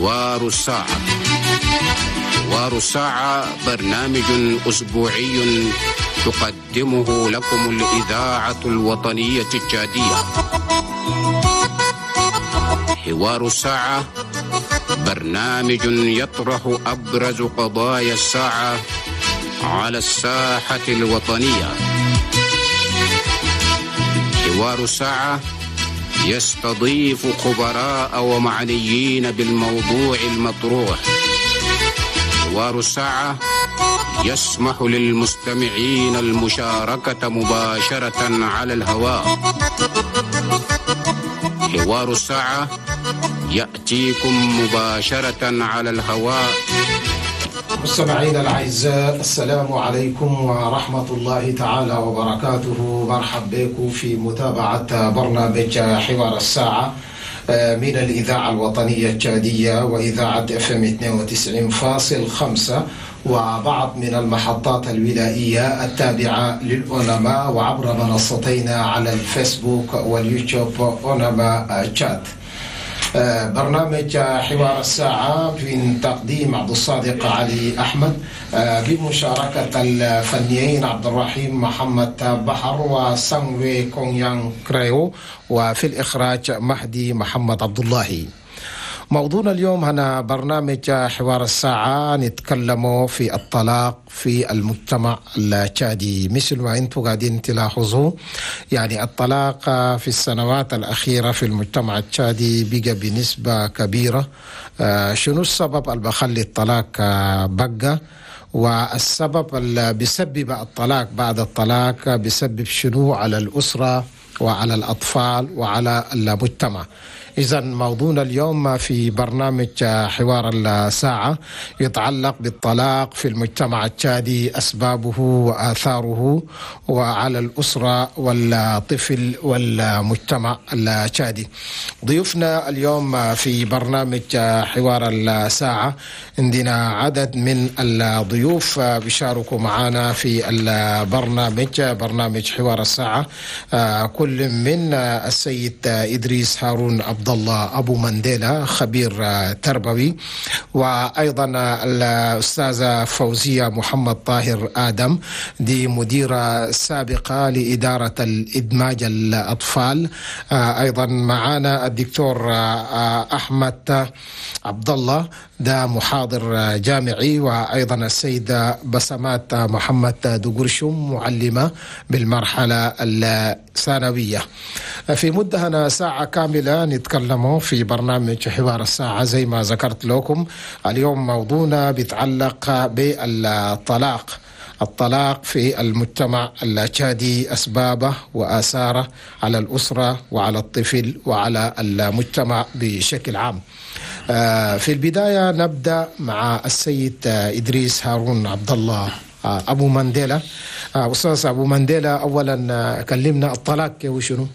حوار الساعة. حوار الساعة برنامج أسبوعي تقدمه لكم الإذاعة الوطنية التشادية. حوار الساعة برنامج يطرح أبرز قضايا الساعة على الساحة الوطنية. حوار الساعة يستضيف خبراء ومعنيين بالموضوع المطروح. حوار الساعة يسمح للمستمعين المشاركة مباشرة على الهواء. حوار الساعة يأتيكم مباشرة على الهواء. مستمعينا الأعزاء، السلام عليكم ورحمة الله تعالى وبركاته. مرحب بكم في متابعة برنامج حوار الساعة من الإذاعة الوطنية التشادية وإذاعة FM 92.5 وبعض من المحطات الولائية التابعة للأونما، وعبر منصتينا على الفيسبوك واليوتيوب أونما تشاد. برنامج حوار الساعة من تقديم عبد الصادق علي أحمد بمشاركة الفنيين عبد الرحيم محمد بحر وسانوي كونيان كريو، وفي الإخراج مهدي محمد عبد الله. موضوعنا اليوم هنا برنامج حوار الساعة نتكلم في الطلاق في المجتمع التشادي. مثل ما انتم قاعدين تلاحظوا، يعني الطلاق في السنوات الأخيرة في المجتمع التشادي بقى بنسبة كبيرة. شنو السبب اللي بخلي الطلاق بقى، والسبب اللي بيسبب الطلاق بعد الطلاق بيسبب شنو على الأسرة وعلى الأطفال وعلى المجتمع؟ إذا موضوعنا اليوم في برنامج حوار الساعة يتعلق بالطلاق في المجتمع التشادي، أسبابه وآثاره وعلى الأسرة والطفل والمجتمع التشادي. ضيوفنا اليوم في برنامج حوار الساعة عندنا عدد من الضيوف بيشاركوا معنا في البرنامج، برنامج حوار الساعة، كل من السيد إدريس هارون عبد الله أبو مانديلا، خبير تربوي، وأيضا الأستاذة فوزية محمد طاهر آدم، دي مديرة سابقة لإدارة الإدماج الأطفال. أيضا معنا الدكتور أحمد عبد الله، ده محاضر جامعي، وأيضا السيدة بسمات محمد دقرشم، معلمة بالمرحلة الثانوية. في مدة هنا ساعة كاملة نتكلم في برنامج حوار الساعة. زي ما ذكرت لكم اليوم موضوعنا بيتعلق بالطلاق، الطلاق في المجتمع التشادي، أسبابه وآثاره على الأسرة وعلى الطفل وعلى المجتمع بشكل عام. في البداية نبدأ مع السيد إدريس هارون عبد الله أبو مانديلا. أستاذ أبو مانديلا، أولا كلمنا الطلاق وشنو؟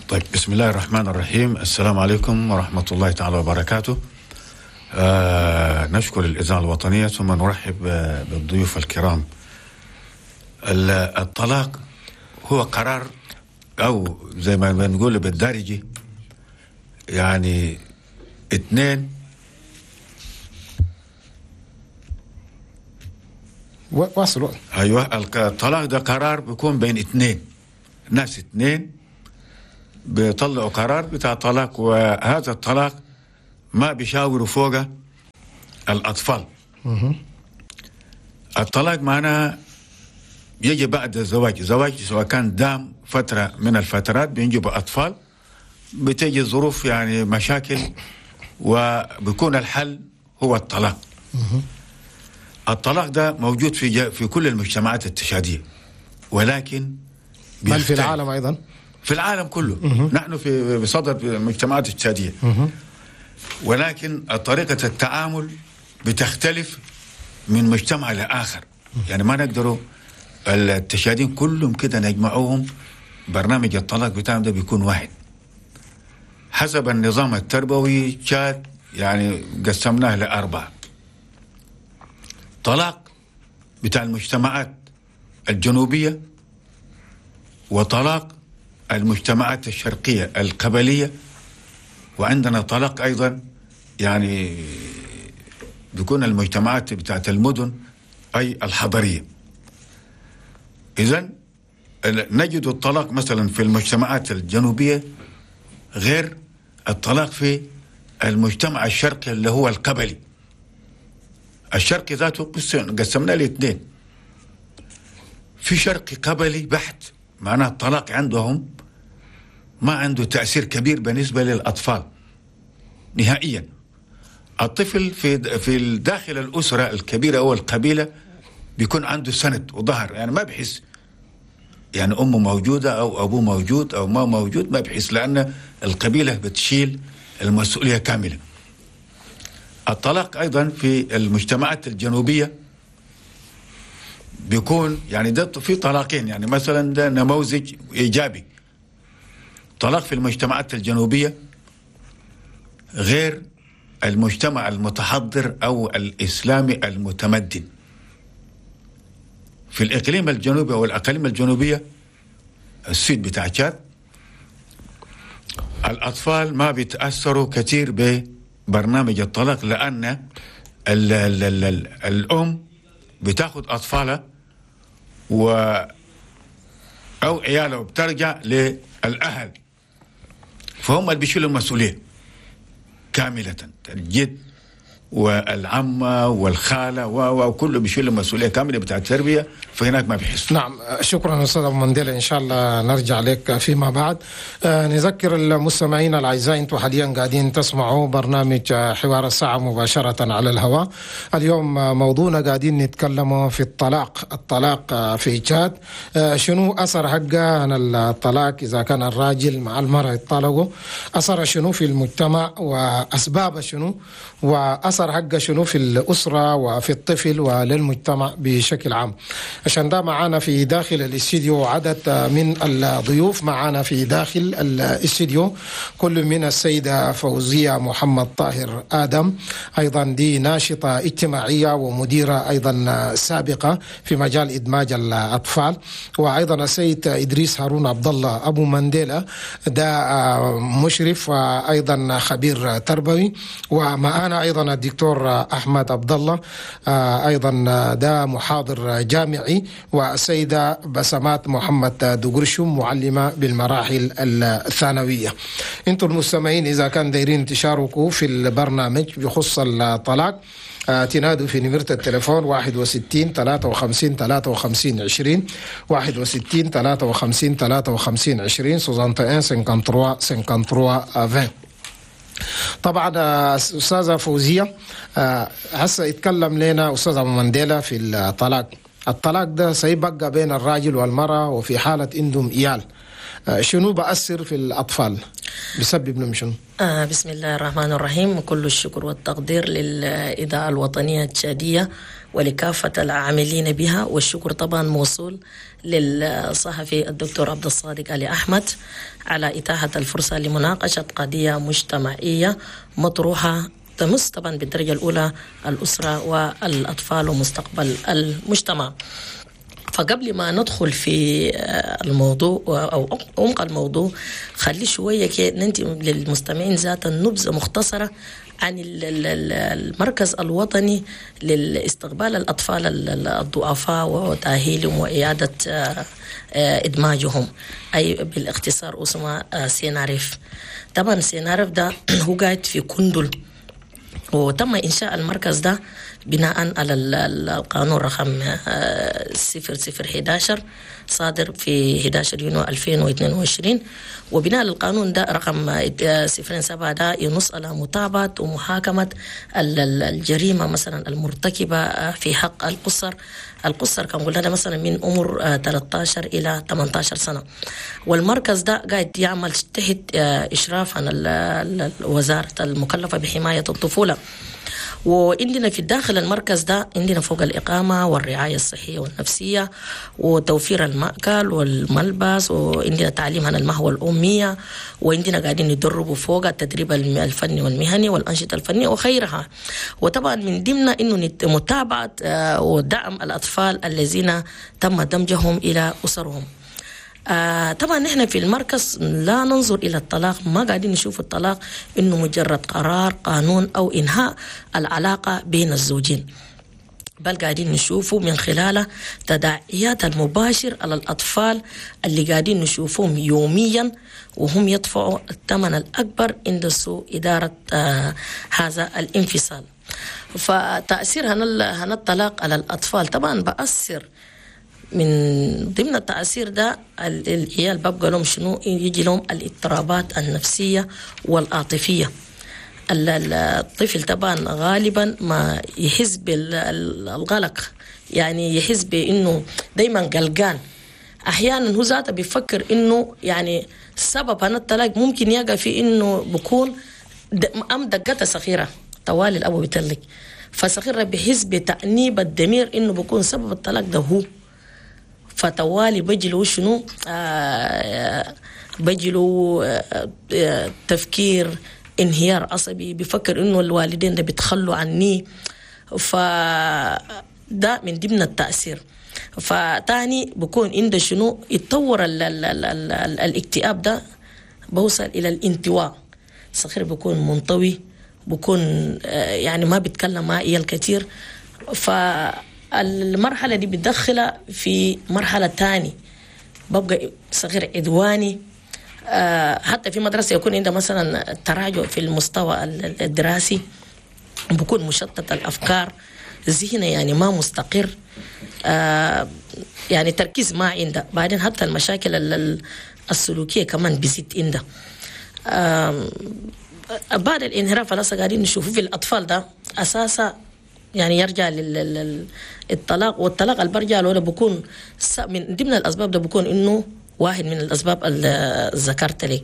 طيب، بسم الله الرحمن الرحيم. السلام عليكم ورحمة الله تعالى وبركاته. نشكر الإذاعة الوطنية ثم نرحب بالضيوف الكرام. الطلاق هو قرار، أو زي ما بنقول بالدارجي يعني اثنين. واصلوا. أيوة، الطلاق ده قرار بيكون بين اثنين ناس، اثنين بيطلعوا قرار بتاع طلاق، وهذا الطلاق ما بيشاوروا فوقه الأطفال. الطلاق معناه يجي بعد الزواج، زواج سواء كان دام فترة من الفترات بينجبوا أطفال، بتيجي ظروف يعني مشاكل، وبيكون الحل هو الطلاق. الطلاق ده موجود في كل المجتمعات التشادية، ولكن بل في العالم أيضا، في العالم كله. نحن في بصدد المجتمعات التشادية، ولكن طريقة التعامل بتختلف من مجتمع لآخر. يعني ما نقدروا التشادين كلهم كده نجمعوهم برنامج الطلاق بتاعهم ده بيكون واحد. حسب النظام التربوي تشاد يعني قسمناه لأربعة. طلاق بتاع المجتمعات الجنوبية، وطلاق المجتمعات الشرقية القبلية، وعندنا طلاق أيضا يعني بيكون المجتمعات بتاعت المدن أي الحضرية. إذن نجد الطلاق مثلا في المجتمعات الجنوبية غير الطلاق في المجتمع الشرقي اللي هو القبلي. الشرقي ذاته قسمنا لاثنين، في شرقي قبلي بحت، معناه الطلاق عندهم ما عنده تأثير كبير بالنسبة للأطفال نهائيا. الطفل في داخل الأسرة الكبيرة أو القبيلة بيكون عنده سند وظهر، يعني ما بحس يعني أمه موجودة أو أبوه موجود أو ما موجود، ما بحس، لأن القبيلة بتشيل المسؤولية كاملة. الطلاق أيضا في المجتمعات الجنوبية بيكون يعني ده في طلاقين، يعني مثلا ده نموذج إيجابي. طلاق في المجتمعات الجنوبية غير المجتمع المتحضر أو الإسلامي المتمدن. في الإقليم الجنوبي أو الأقاليم الجنوبية، السويد بتاع تشاد، الأطفال ما بيتأثروا كثير ببرنامج الطلاق، لأن ال ال ال ال الأم بتاخد أطفالها أو عيالها وبترجع للأهل، فهم اللي بيشيلوا المسؤولية كاملة، الجد والعمة والخالة وكله بيشيل المسؤولية كاملة بتاع التربية، فهناك ما بيحسوا. نعم، شكرا أستاذ أبو مانديلا، إن شاء الله نرجع لك فيما بعد. نذكر المستمعين الأعزاء، أنتم حاليا قاعدين تسمعوا برنامج حوار الساعة مباشرة على الهواء. اليوم موضوعنا قاعدين نتكلم في الطلاق في تشاد، شنو أثر حقه عن الطلاق إذا كان الراجل مع المرأة يطلقوا، أثر شنو في المجتمع وأسباب شنو، وأثر حقه شنو في الأسرة وفي الطفل وللمجتمع بشكل عام. عشان ده معانا في داخل الاستديو عدد من الضيوف، معانا في داخل الاستديو كل من السيدة فوزية محمد طاهر آدم، أيضا دي ناشطة اجتماعية ومديرة أيضا سابقة في مجال إدماج الأطفال، وأيضا السيد إدريس هارون عبد الله أبو مانديلا، ده مشرف وأيضا خبير تربوي، ومعانا أيضا الدكتور أحمد عبد الله، أيضا ده محاضر جامعي، والسيدة بسمات محمد دقرشم معلمة بالمراحل الثانوية. انتم المستمعين إذا كان دايرين تشاركوا في البرنامج بخص الطلاق، تنادوا في نمرة التليفون 61 53 53 20، 61 53 53 20، 61 53 53 20. طبعا أستاذة فوزية، هسه يتكلم لنا أستاذ أبو مانديلا في الطلاق. الطلاق ده سيبقى بين الراجل والمرأة، وفي حالة عندهم إيال، شنو بأثر في الأطفال؟ بسبب لهم شنو؟ بسم الله الرحمن الرحيم. كل الشكر والتقدير للإذاعة الوطنية التشادية ولكافة العاملين بها، والشكر طبعا موصول للصحفي الدكتور عبد الصادق علي أحمد على إتاحة الفرصة لمناقشة قضية مجتمعية مطروحة تمس طبعا بالدرجة الأولى الأسرة والأطفال ومستقبل المجتمع. فقبل ما ندخل في الموضوع أو عمق الموضوع، خلي شوية ننتي للمستمعين ذات النبذة مختصرة عن المركز الوطني لاستقبال الأطفال الضعفاء وتأهيلهم وإعادة إدماجهم، أي بالاختصار اسمه سيناريف. طبعا سيناريف ده هو قاعد في كندل، وتم إنشاء المركز ده بناء على القانون رقم 0011 صادر في 11 يونيو 2022. وبناء على القانون ده رقم 07 ده ينص على متابعة ومحاكمة الجريمة مثلا المرتكبة في حق القصر. القصر كان قلنا مثلا من عمر 13 إلى 18 سنة. والمركز ده قاعد يعمل تحت إشراف عن الوزارة المكلفة بحماية الطفولة. وعندنا في داخل المركز ده عندنا فوق الإقامة والرعاية الصحية والنفسية وتوفير المأكل والملبس، وعندنا تعليم عن المهوى الأمية، وعندنا قاعدين ندربوا فوق التدريب الفني والمهني والأنشطة الفنية وخيرها. وطبعا من ضمن إنه متابعة ودعم الأطفال الذين تم دمجهم إلى أسرهم. طبعا نحن في المركز لا ننظر إلى الطلاق، ما قاعدين نشوف الطلاق إنه مجرد قرار قانون أو إنهاء العلاقة بين الزوجين، بل قاعدين نشوفه من خلاله تداعيات المباشر على الأطفال اللي قاعدين نشوفهم يوميا وهم يدفعوا الثمن الأكبر عند سوء إدارة هذا الانفصال. فتأثير هنا الطلاق على الأطفال طبعا بأثر، من ضمن التأثير ده العيال ببقى لهم شنو؟ يجي لهم الاضطرابات النفسية والعاطفية. الطفل طبعا غالبا ما يحس بالغلق، يعني يحس بانه دايما قلقان. احيانا هو ذاته بيفكر انه يعني سبب هذا الطلاق ممكن يقع في انه بكون ام دقته صغيرة طوال الابو بيطلق، فصغيره بيحس بتأنيب الضمير انه بكون سبب الطلاق ده هو، فتوالي بيجي له شنو؟ بيجي له تفكير انهيار عصبي، بيفكر انه الوالدين ده بيتخلوا عني، فده من ضمن التأثير. فتاني بكون عنده شنو؟ يتطور ال ال ال ال ال الاكتئاب ده بوصل الى الانطواء. صغير بكون منطوي، بكون يعني ما بيتكلم مع عيال كتير. فالمرحلة دي بتدخلها في مرحلة تاني، ببقى صغير عدواني. حتى في مدرسة يكون عنده مثلا تراجع في المستوى الدراسي، بكون مشتت الأفكار، ذهنه يعني ما مستقر، يعني تركيز ما عنده. بعدين حتى المشاكل السلوكية كمان بيزيد عنده. بعد الانحراف اللي قاعدين نشوفه في الأطفال ده أساسا يعني يرجع للطلاق، والطلاق اللي برجع له بكون من ضمن الأسباب ده بكون إنه واحد من الأسباب اللي ذكرت لي.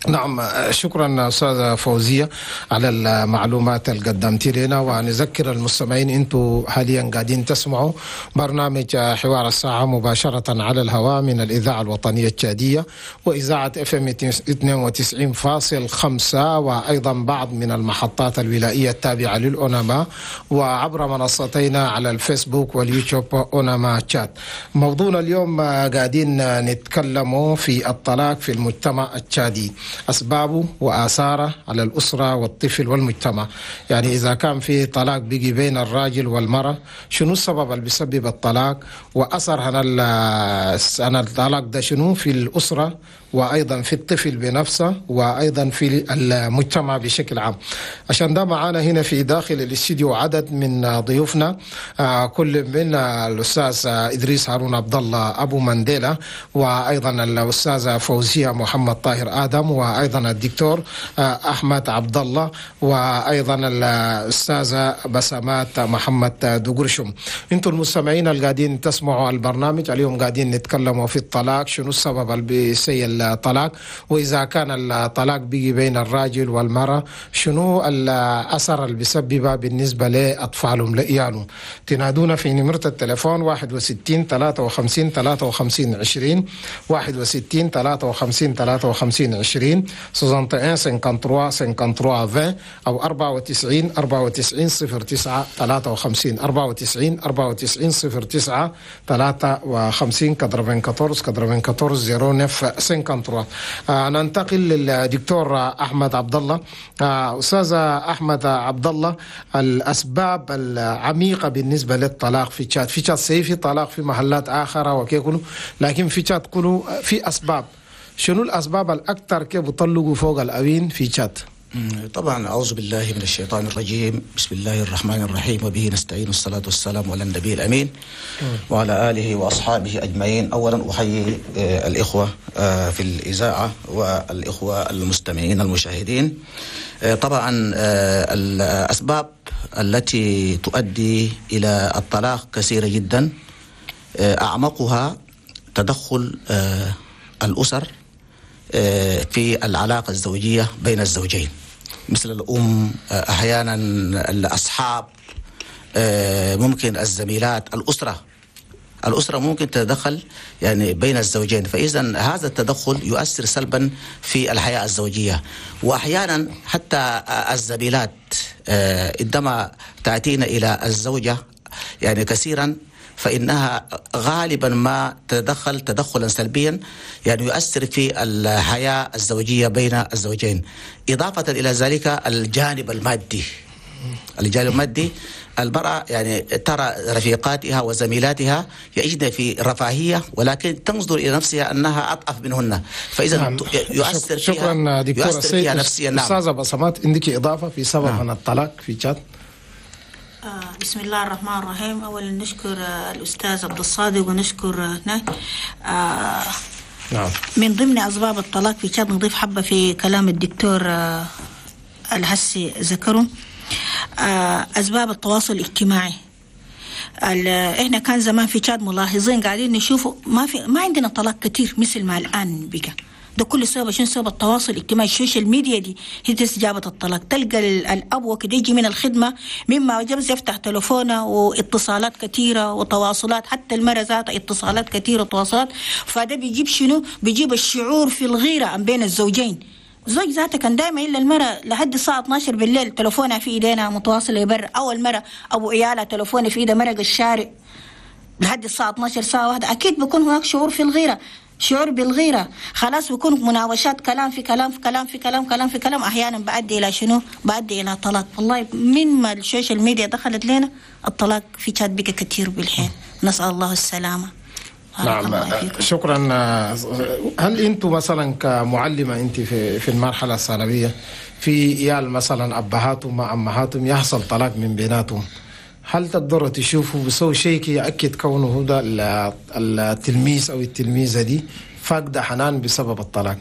نعم، شكرا أستاذة فوزية على المعلومات اللي قدمتي لنا. ونذكر المستمعين أنتم حاليا قاعدين تسمعوا برنامج حوار الساعة مباشرة على الهواء من الإذاعة الوطنية التشادية وإذاعة FM 92.5، وأيضا بعض من المحطات الولائية التابعة للأوناما، وعبر منصتينا على الفيسبوك واليوتيوب أوناما تشاد. موضوعنا اليوم قاعدين نتكلم في الطلاق في المجتمع التشادي، أسبابه وآثاره على الأسرة والطفل والمجتمع. يعني إذا كان في طلاق بيجي بين الراجل والمرأة، شنو السبب اللي بيسبب الطلاق، وأثر هنا الطلاق ده شنو في الأسرة وأيضا في الطفل بنفسه وأيضا في المجتمع بشكل عام. عشان ده معانا هنا في داخل الاستديو عدد من ضيوفنا، كل من الأستاذ إدريس هارون عبد الله أبو مانديلا، وأيضا الأستاذة فوزية محمد طاهر آدم، وأيضا الدكتور أحمد عبد الله، وأيضا الأستاذة بسمات محمد دقرشم. انتم المستمعين اللي قاعدين تسمعوا البرنامج اليوم قاعدين نتكلموا في الطلاق، شنو السبب اللي بيسيل الطلاق، وإذا كان الطلاق بيجي بين الراجل والمرأة شنو الأثر اللي بيسببه بالنسبة لأطفالهم لإيالهم. تنادونا في نمرة التليفون 61 53 53 20، 61 53 53 20، 61 53 53 20، أو 94 94 09 53، 94 94 09 53، 94 94 09 53. ننتقل للدكتور أحمد عبد الله. أستاذ أحمد عبد الله، الأسباب العميقة بالنسبة للطلاق في تشاد، في تشاد في طلاق في محلات آخرى وكيكولو، لكن في تشاد كله في أسباب. شنو الأسباب الأكثر كيف بيطلقوا فوق الأوين في تشاد؟ طبعا أعوذ بالله من الشيطان الرجيم، بسم الله الرحمن الرحيم، وبه نستعين، والصلاة والسلام على النبي الأمين وعلى آله وأصحابه أجمعين. أولا أحيي الإخوة في الإذاعة والإخوة المستمعين المشاهدين. طبعا الأسباب التي تؤدي إلى الطلاق كثيرة جدا، أعمقها تدخل الأسر في العلاقة الزوجية بين الزوجين، مثل الأم، أحيانا الأصحاب، ممكن الزميلات، الأسرة ممكن تتدخل يعني بين الزوجين، فإذا هذا التدخل يؤثر سلبا في الحياة الزوجية. وأحيانا حتى الزميلات عندما تأتينا إلى الزوجة يعني كثيرا فإنها غالبا ما تتدخل تدخلا سلبيا، يعني يؤثر في الحياة الزوجية بين الزوجين. إضافة إلى ذلك الجانب المادي، الجانب المادي، المرأة يعني ترى رفيقاتها وزميلاتها يعيشن في رفاهية، ولكن تنظر إلى نفسها أنها أضعف منهن، فإذا نعم. يؤثر فيها، شكرا دكتور يؤثر فيها نفسيا. نعم. أستاذة بصمات، عندك إضافة في سبب عن الطلاق في تشاد؟ بسم الله الرحمن الرحيم. أولا نشكر الأستاذ عبد الصادق ونشكر نعم. من ضمن أسباب الطلاق في تشاد نضيف حبة في كلام الدكتور الهسي ذكره، أسباب التواصل الاجتماعي. احنا كان زمان في تشاد ملاحظين قاعدين نشوفه ما عندنا طلاق كتير مثل ما الآن بقى. ده كل سبب شنو؟ سبب التواصل الاجتماعي، ال social media دي هي جابت الطلاق. تلقى الاب وكده يجي من الخدمة مما جبز يفتح تلفونه واتصالات كثيرة وتواصلات، حتى المرأة ذاتها اتصالات كثيرة وتواصلات. فده بيجيب شنو؟ بيجيب الشعور في الغيرة بين الزوجين. زوج ذاته كان دائما الا المرأة لحد الساعة 12 بالليل تلفونها في ايدينا متواصلة برا، او المرأة ابو عيالها تلفونه في ايده مرق الشارع لحد الساعة 12 ساعة واحدة. اكيد بيكون هناك شعور في الغيرة، شعور بالغيرة، خلاص بيكون مناوشات، كلام في كلام في كلام في كلام كلام في كلام، أحيانا بأدي إلى شنو؟ بأدي إلى طلاق. والله من ما ال social media دخلت لنا الطلاق في تشاد بقى كثير بالحين، نسأل الله السلامة. نعم شكرا. هل أنتم مثلا كمعلمة أنت في المرحلة الثانوية في عيال مثلا أبهاتهم مع أمهاتهم يحصل طلاق من بيناتهم، هل تقدروا تشوفوا بسوي شيء يأكد كونه ده التلميذ أو التلميذة دي فاقدة حنان بسبب الطلاق؟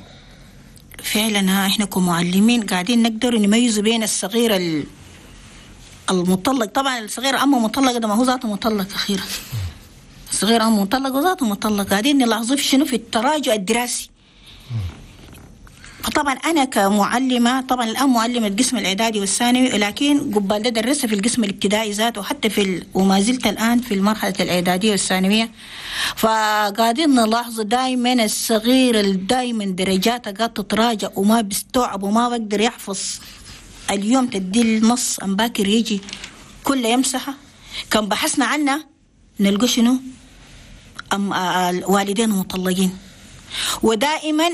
فعلا احنا كمعلمين قاعدين نقدر نميز بين الصغير المطلق. طبعا الصغير أمه مطلق ده ما هو ذاته مطلق، أخيرا الصغير أمه مطلق وذاته مطلق. قاعدين نلاحظه في شنو؟ في التراجع الدراسي. فطبعا انا كمعلمه، طبعا الان معلمه القسم الاعدادي والثانوي، لكن قبل ده درست في القسم الابتدائي ذاته، وحتى في وما زلت الان في المرحلة الاعدادية والثانويه. فقاعدين نلاحظ دائما الصغير دائما درجاته قاعد تتراجع وما بيستوعب وما بقدر يحفظ. اليوم تدي النص ام باكر يجي كله يمسحه. كان بحثنا عنه نلقى شنو؟ ام الوالدين مطلقين. ودائما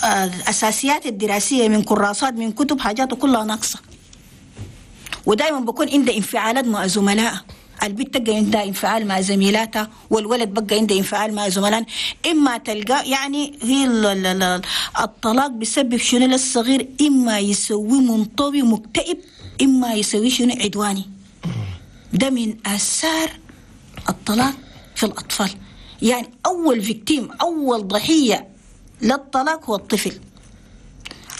الأساسيات الدراسية من كراسات من كتب حاجاته كلها ناقصة. ودائما بكون عنده انفعالات مع زملائه، البنت تلقى عندها انفعال مع زميلاتها، والولد بقى عنده انفعال مع زملائه. إما تلقى يعني هي الطلاق بيسبب شنو للصغير؟ إما يسوي منطوي مكتئب، إما يسوي شنو عدواني. ده من آثار الطلاق في الأطفال. يعني أول فيكتيم، أول ضحية للطلاق هو الطفل.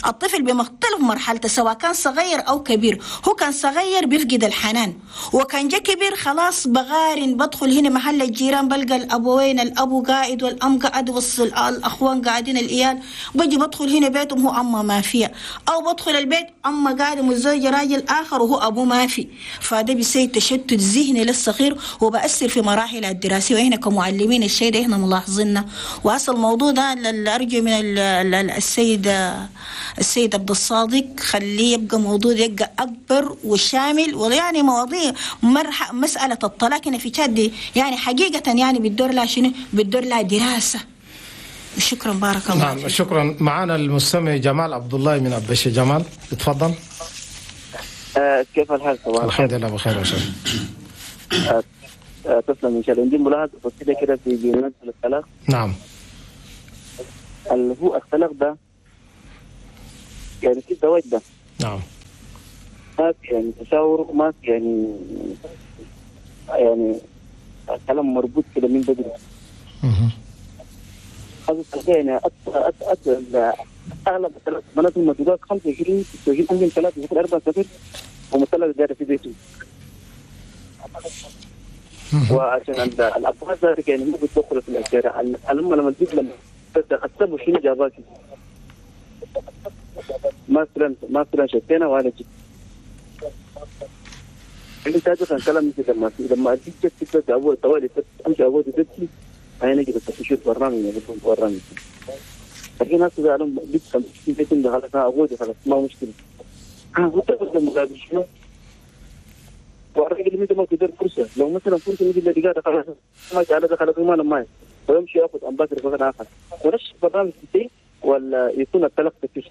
الطفل بمختلف مرحلته سواء كان صغير أو كبير. هو كان صغير بيفقد الحنان، وكان جا كبير خلاص بغارن، بدخل هنا محل الجيران بلقى الأبوين، الأبو قاعد والأم قاعد والأخوان قاعدين الإيال، بجي بدخل هنا بيتهم هو أما ما فيها، أو بدخل البيت أما قاعد متزوجة راجل آخر وهو أبو ما في. فده بيسوي تشتت ذهني للصغير وبأثر في مراحل الدراسية. وإحنا كمعلمين الشيء ده إحنا ملاحظينه. وأصل الموضوع ده أرجو من السيد عبد الصادق خليه يبقى موضوع يبقى أكبر وشامل، ويعني مواضيع مسألة الطلاق هنا في تشاد يعني حقيقة يعني بتدور لها شنو؟ بتدور لها دراسة. شكرا، بارك الله. نعم شكرا. معنا المستمع جمال عبد الله من أبشي. جمال اتفضل. كيف الحال؟ الحمد لله بخير وشكرا. تسلم ان شاء الله. عندي ملاحظة بسيطة كده في مسألة الطلاق. نعم. اللي هو الطلاق ده يعني في الزواج ده. نعم. ما في يعني تشاور، وما في يعني الكلام مربوط كده من بدري. هذا يعني اغلب البنات الموجودات 25 26 عندهم 3 4 سفر ومطلق داير في بيته. وعشان الابواب ذلك يعني مو بتدخل في الشارع. الام لما تجيب لما السبب شنو جاباكي؟ ما فلان شتينا ولا جيت. عندي سابقا كلام مثل لما اديك جت ابوي طوالي امشي ابوي تبكي انا نجي بس اشوف برنامج برنامج. لكن هسه قالوا بيت 50 بيت خلاص ابوي خلاص ما مشكلة. انا قلت لهم شنو؟ والراجل مثل ما تدير فرصة، لو مثلا فرصة مثل اللي قاعد خلاص ما جعل خلاص ما لما ويمشي ياخذ امباتر في اخر ونفس البرنامج فيه ولا يكون الطلاق فيه.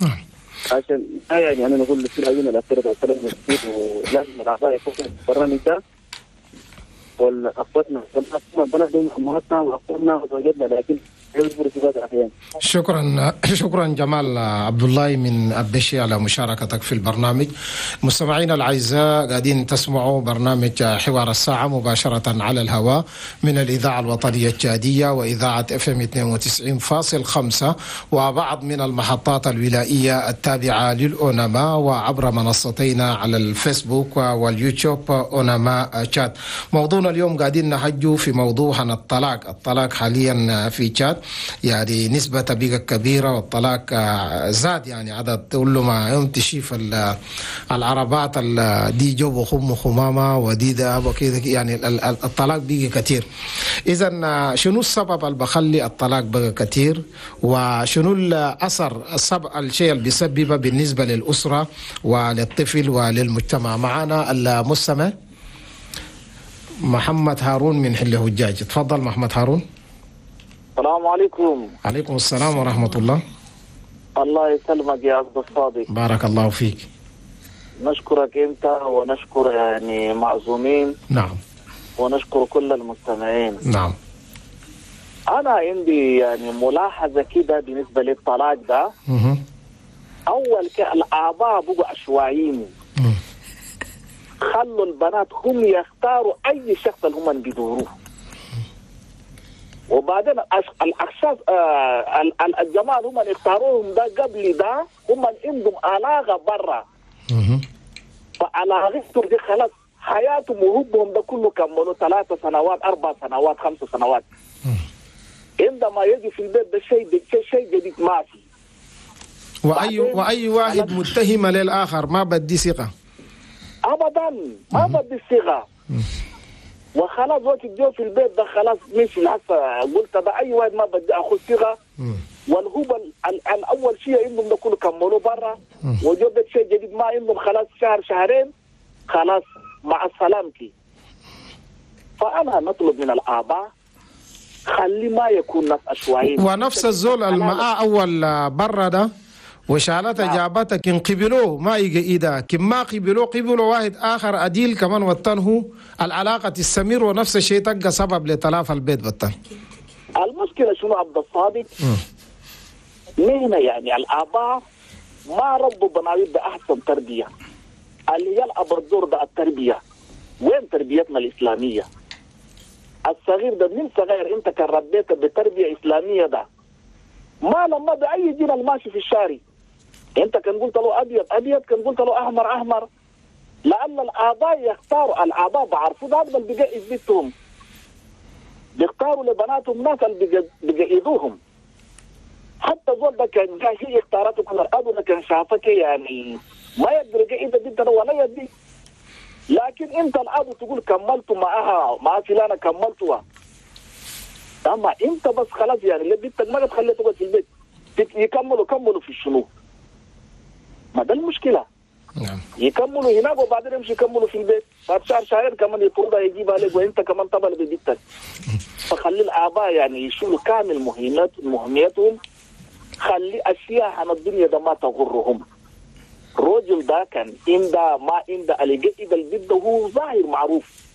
نعم. عشان يعني انا نقول في العيون الاخيرة الكلام كثير، ولازم الاعضاء يكونوا في البرنامج ده، والاخواتنا بنات امهاتنا واخواننا وزوجاتنا، لكن شكرا جمال عبد الله من أبشي على مشاركتك في البرنامج. مستمعينا الأعزاء، قاعدين تسمعوا برنامج حوار الساعة مباشرة على الهواء من الإذاعة الوطنية التشادية وإذاعة FM 92.5 وبعض من المحطات الولائية التابعة للأونما، وعبر منصتينا على الفيسبوك واليوتيوب أونما تشاد. موضوعنا اليوم قاعدين نحجو في موضوع عن الطلاق. الطلاق حاليا في تشاد يعني نسبة بقى كبيرة، والطلاق زاد يعني عدد. كل ما يوم تشوف العربات دي جو خم خمامة ودي ده وكذا، يعني الطلاق بقى كتير. إذا شنو السبب اللي بخلي الطلاق بقى كتير، وشنو الأثر الشيء اللي بيسببه بالنسبة للأسرة وللطفل وللمجتمع؟ معنا المستمع محمد هارون من حل هجاج. تفضل محمد هارون. السلام عليكم. عليكم السلام ورحمة الله. الله يسلمك يا عبد الصادق. بارك الله فيك. نشكرك أنت ونشكر يعني معزومين. نعم. ونشكر كل المستمعين. نعم. أنا عندي يعني ملاحظة كده بالنسبة للطلاق ده. أول الآباء بقوا عشوائيين. خلوا البنات هم يختاروا أي شخص اللي هم بيدوروه. وبعدين الأشخاص الجماعة هم اللي اختاروهم ده قبل ده هم اللي عندهم علاقة برا. فعلاقتهم دي خلاص حياتهم وحبهم ده كله كملوا 3 سنوات 4 سنوات 5 سنوات. عندما يجي في البيت ده شيء جديد ما في. وأي واحد متهم للآخر ما بدي ثقة. أبدا ما بدي ثقة. وخلاص وقت الجو في البيت ده خلاص مش هسه قلت ده اي واحد ما بدي اخذ ثقة. والهبل الاول شيء عندهم ده كله كملوا برا وجو بيت شيء جديد ما عندهم خلاص شهر شهرين خلاص مع السلامتي. فانا نطلب من الاباء خلي ما يكون ناس عشوائيين. ونفس الزول الماء اول برا ده وشالتها جابتك إن قبلوه ما يجي إيدا، كما قبلوه قبلوا واحد آخر أديل كمان وطنه العلاقة تستمر ونفس الشيء تبقى سبب لتلاف البيت بطن. المشكلة شنو عبد الصادق؟ مهنة يعني الآباء ما ربوا بناويت بأحسن تربية. اللي يلعب الدور ده التربية. وين تربيتنا الإسلامية؟ الصغير ده من صغير أنت كان ربيته بتربية إسلامية ده ما لما بأي دين الماشي في الشارع انت كان قلت له ابيض ابيض، كان قلت له احمر احمر. لان الاباء يختاروا، الاباء بعرفوا ده اللي بيجئز بيتهم، بيختاروا لبناتهم ناس اللي بيجئزوهم. حتى زول ده كان جاي اختاراته كل الاب ده كان شافك يعني ما يقدر يجئز بنته ولا يدي، لكن انت الاب تقول كملت معها مع فلانه كملتها. اما انت بس خلاص يعني اللي بنتك ما تخليها تقعد في البيت يكملوا كملوا في الشنو؟ ما ده المشكلة. نعم. يكملوا هناك وبعدين يمشي يكملوا في البيت، بعد شهر شهرين كمان يطردها يجيبها لك وانت كمان طبل ببيتك. فخلي الاباء يعني يشيلوا كامل مهمتهم، خلي اشياء عن الدنيا ده ما تغرهم. الرجل ده كان عنده ما عنده اللي جئ البيت ده هو ظاهر معروف.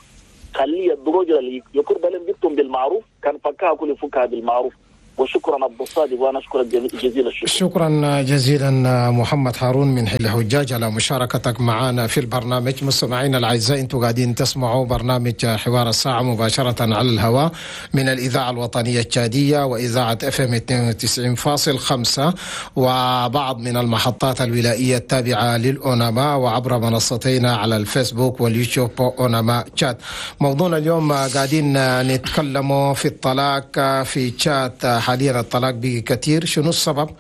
خلي الرجل اللي يقرب لهم بيتهم بالمعروف كان فكها كل فكها بالمعروف. وشكرا عبد الصادق، وانا اشكرك جزيل الشكر. شكرا جزيلا محمد هارون من حل حجاج على مشاركتك معنا في البرنامج. مستمعينا الاعزاء، انتم قاعدين تسمعوا برنامج حوار الساعة مباشرة على الهواء من الاذاعة الوطنية التشاديه واذاعة FM 92.5 وبعض من المحطات الولائيه التابعة للاونما وعبر منصتينا على الفيسبوك واليوتيوب اونما تشاد. موضوعنا اليوم قاعدين نتكلم في الطلاق في تشاد. حاليا الطلاق بقي كثير، شنو السبب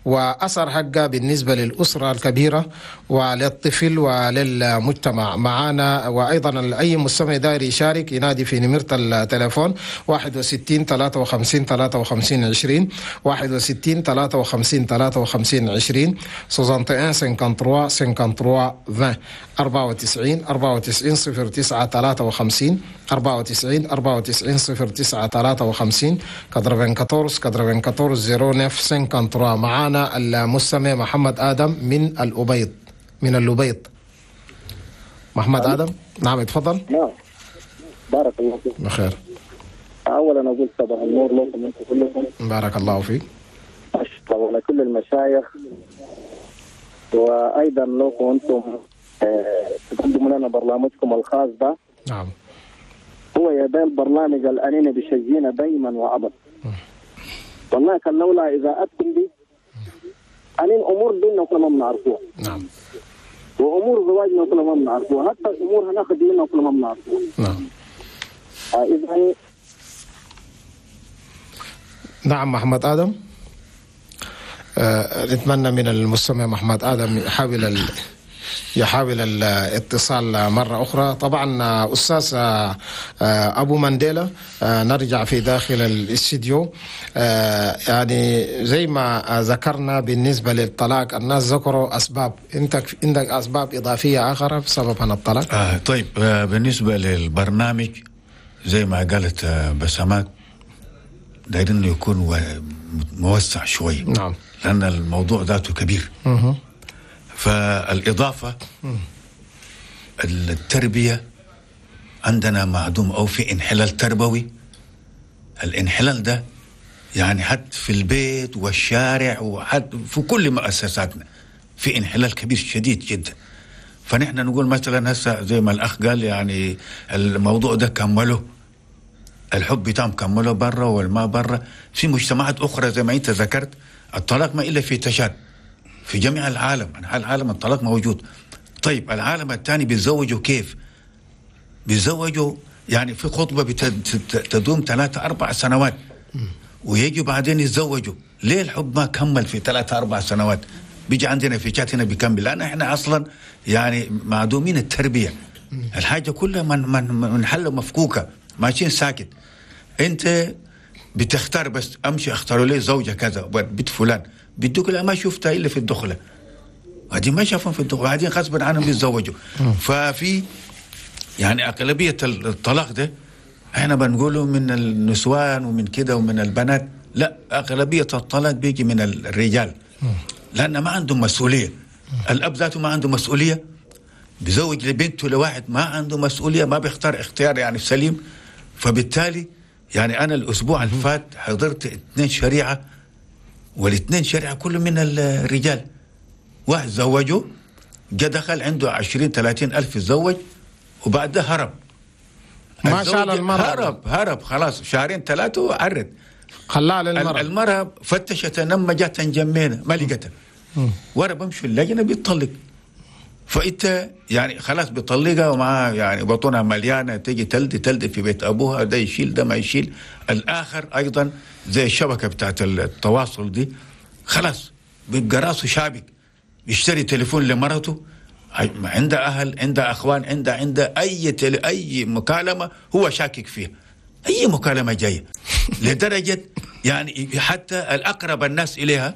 وأثر حقه بالنسبة للأسرة الكبيرة وللطفل وللمجتمع؟ معانا وأيضا أي مستمع داير يشارك ينادي في نمرة التليفون 61 53 53 20، 61 53 53 20، 61 53 53 20، 94 94 09 53، 94 94 09 53، 94 94 09 53. معانا المستمع محمد آدم من الأبيض، من الأبيض. محمد آدم، نعم اتفضل. نعم، بارك الله فيك. بخير. أولا أقول صباح النور لكم أنتم كلكم. بارك الله فيك. أشكر على كل المشايخ، وأيضا لكم أنتم تقدموا لنا برنامجكم الخاص ده. نعم. هو يا ده البرنامج الأنين بيشجينا دايما وأبدا. والله كان لولا إذاعتكم دي أنين أمور ديننا كلها ما بنعرفوها. نعم. وأمور زواجنا كلها ما بنعرفوها، حتى الأمور هناخذ ديننا كلها ما بنعرفوها. نعم. إذا نعم محمد آدم، نتمنى من المستمع محمد آدم يحاول الاتصال مرة أخرى. طبعا أستاذ أبو مانديلا، نرجع في داخل الاستديو. يعني زي ما ذكرنا بالنسبة للطلاق، الناس ذكروا أسباب، أنت عندك أسباب إضافية أخرى بسبب عن الطلاق؟ طيب، بالنسبة للبرنامج زي ما قالت بسمات، دايرين يكون موسع شوي. نعم. لأن الموضوع ذاته كبير. فالإضافة التربية عندنا معدوم أو في انحلال تربوي. الانحلال ده يعني حتى في البيت والشارع وحتى في كل مؤسساتنا في انحلال كبير شديد جدا. فنحن نقول مثلا هسه زي ما الأخ قال، يعني الموضوع ده كمله، الحب بتاعهم كمله برا والما برا. في مجتمعات أخرى زي ما أنت ذكرت الطلاق ما إلا في تشاد، في جميع العالم، أنحاء العالم الطلاق موجود. طيب العالم الثاني بيتزوجوا كيف؟ بيتزوجوا يعني في خطبة تدوم 3-4 سنوات ويجوا بعدين يتزوجوا. ليه الحب ما كمل في 3-4 سنوات؟ بيجي عندنا في شات هنا بيكمل، لأن احنا أصلا يعني معدومين التربية. الحاجة كلها من حل مفكوكة، ماشيين ساكت. أنت بتختار بس أمشي أختار لي زوجة كذا بنت فلان، بيدوك لا ما شفتها إلا في الدخلة، بعدين ما شافهم في الدخلة، بعدين غصب عنهم بيتزوجوا. ففي يعني أغلبية الطلاق ده احنا بنقوله من النسوان ومن كده ومن البنات، لا، أغلبية الطلاق بيجي من الرجال، لأن ما عندهم مسؤولية. الأب ذاته ما عنده مسؤولية، بيزوج لبنته لواحد ما عنده مسؤولية، ما بيختار اختيار يعني سليم. فبالتالي يعني أنا الأسبوع اللي فات حضرت 2 شريعة، والاثنين شريعة كله من الرجال. واحد زوجه جا دخل عنده 20-30 ألف تزوج، وبعدها هرب. ما شاء المرأة، هرب خلاص 2-3 شهور وعرد خلاها للمرأة. المرأة فتشت لما جات نجمينا ما لقتها، ورا بمشي اللجنة بيطلق. فانت يعني خلاص بيطلقها ومعها يعني بطنها مليانة، تيجي تلدي في بيت ابوها، ده يشيل ده ما يشيل. الاخر ايضا زي الشبكة بتاعت التواصل دي، خلاص بيبقى راسه شابك، يشتري تليفون لمرته، عنده اهل، عنده اخوان، عنده اي مكالمة هو شاكك فيها، اي مكالمة جاية لدرجة يعني حتى الاقرب الناس اليها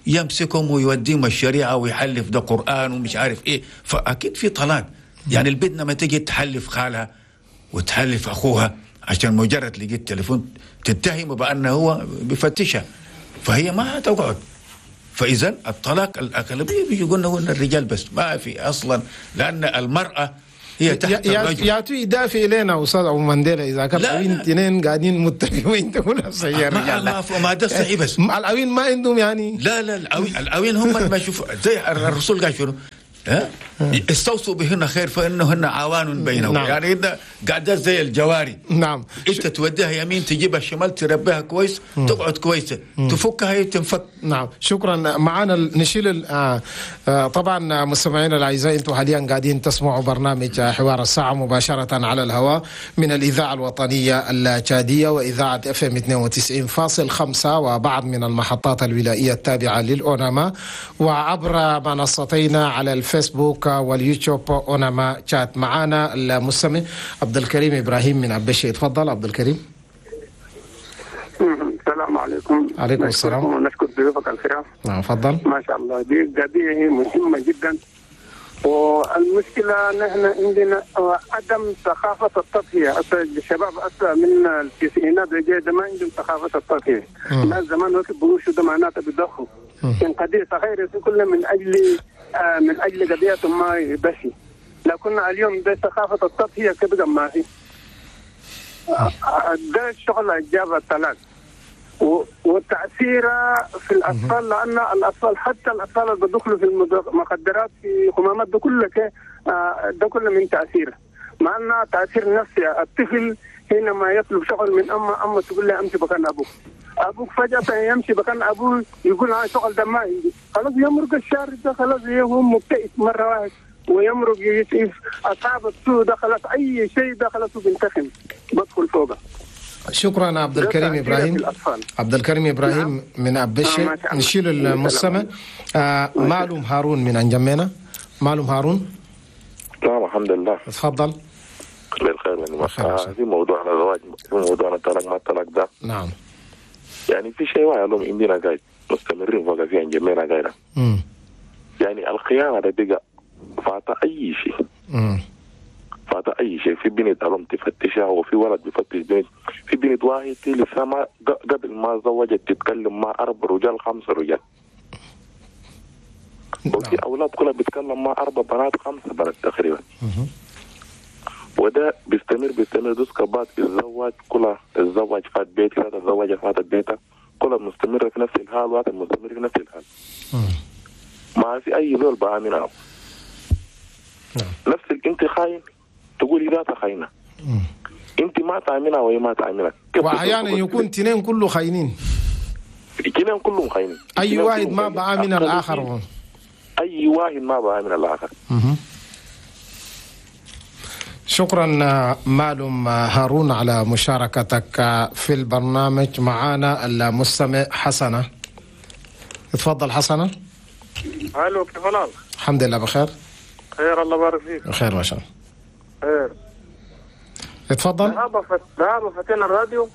يمسكهم ويوديهم الشريعة ويحلف ده قران ومش عارف ايه. فاكيد في طلاق. يعني البنت لما تيجي تحلف خالها وتحلف اخوها عشان مجرد لقيت تليفون تتهمه بانه هو بيفتشها، فهي ما هتقعد. فاذا الطلاق الاغلبية بيجي قلنا الرجال بس، ما في اصلا، لان المراة هي تحت الرجل. ياتوا يدافع الينا استاذ ابو مانديلا اذا كان العوين اثنين قاعدين متفقين تقول صحيح الرجال. ما ده صحيح، بس العوين ما عندهم يعني. لا لا، العوين هم ما يشوفوا زي الرسول قال شنو؟ ها؟ استوصوا بهن خير فانهن عوان بينهم. نعم. يعني انت قاعدات زي الجواري. نعم. انت توديها يمين تجيبها شمال، تربيها كويس تقعد كويسة، تفكها هي تنفك. نعم، شكرا. معانا نشيل طبعا مستمعينا الاعزاء، انتم حاليا قاعدين تسمعوا برنامج حوار الساعة مباشرة على الهواء من الاذاعة الوطنية التشاديه واذاعة FM 92.5 وبعض من المحطات الولائيه التابعة للاوناما، وعبر منصتينا على الفيسبوك واليوتيوب اوناما شات. معانا المستمع عبد الكريم ابراهيم من عبشي. تفضل عبد الكريم. السلام عليكم. عليكم السلام. ونشكر ضيوفك الكرام. نعم تفضل. ما شاء الله، دي قضية مهمة جدا، والمشكلة نحن عندنا عدم ثقافة التضحية. الشباب أصلا من التسعينات ده ما عندهم ثقافة التضحية. الناس زمان وقت بقوشوا ده معناته بيضحوا. كان قضية صغيرة كلها من أجل قضية ما يبشي، لكن اليوم ده ثقافة التضحية كده ما في. ده الشغل جاب الطلاق وتأثيره في الأطفال، لأن الأطفال حتى الأطفال اللي بيدخلوا في المخدرات في خمامات ده كله ده كله من تأثيره، مع أنه تأثير نفسي. الطفل حينما يطلب شغل من أمه، أمه تقول له أمشي مكان أبوك، أبوك فجأة يمشي مكان أبوه يقول أنا شغل ده ما عندي، خلاص يمرق الشارع ده، خلاص هو مبتئس مرة واحد ويمرق يشوف أصحاب السوء ده، خلاص أي شيء ده خلاص بينتقم بدخل فوقه. شكرا عبد الكريم ابراهيم. عبد الكريم ابراهيم. نعم. من ابشي. نشيل المستمع معلوم هارون من انجمينا. معلوم هارون. نعم الحمد لله. تفضل. بالخير. في موضوعنا الزواج، في موضوعنا الطلاق ما الطلاق ده. نعم. يعني في شيء واحد لهم عندنا قاعد مستمرين فوق في انجمينا قاعدة. يعني الخيانة ده بقى فات اي شيء. فات اي شيء. في بنت الام تفتشها، وفي ولد بيفتش بنت. في بنت واحد لسه ما قبل ما زوجت تتكلم مع 4 رجال 5 رجال. وفي اولاد كلها بيتكلم مع 4 بنات 5 بنات تقريبا. وده بيستمر دوس كبات الزواج كلها، الزواج فات بيتي، هذا الزواج فات بيتها، كلها مستمرة في نفس الحال، وهذا مستمر في نفس الحال. ما في اي زول بآمنها. نفس انت خاين تقولي ذات خاينه. انت ما تامنها وهي ما تامنك. واحيانا يكون اثنين كله خاينين. اثنين كلهم خاينين. اي واحد ما بآمن الاخر. اي واحد ما بآمن الاخر. شكرا معلوم هارون على مشاركتك في البرنامج. معانا المستمع حسنه. تفضل حسنه. الو، كيف الحال؟ الحمد لله بخير. خير، الله يبارك فيك. خير ما شاء الله. خير. اتفضل. ذهب فتينا الراديو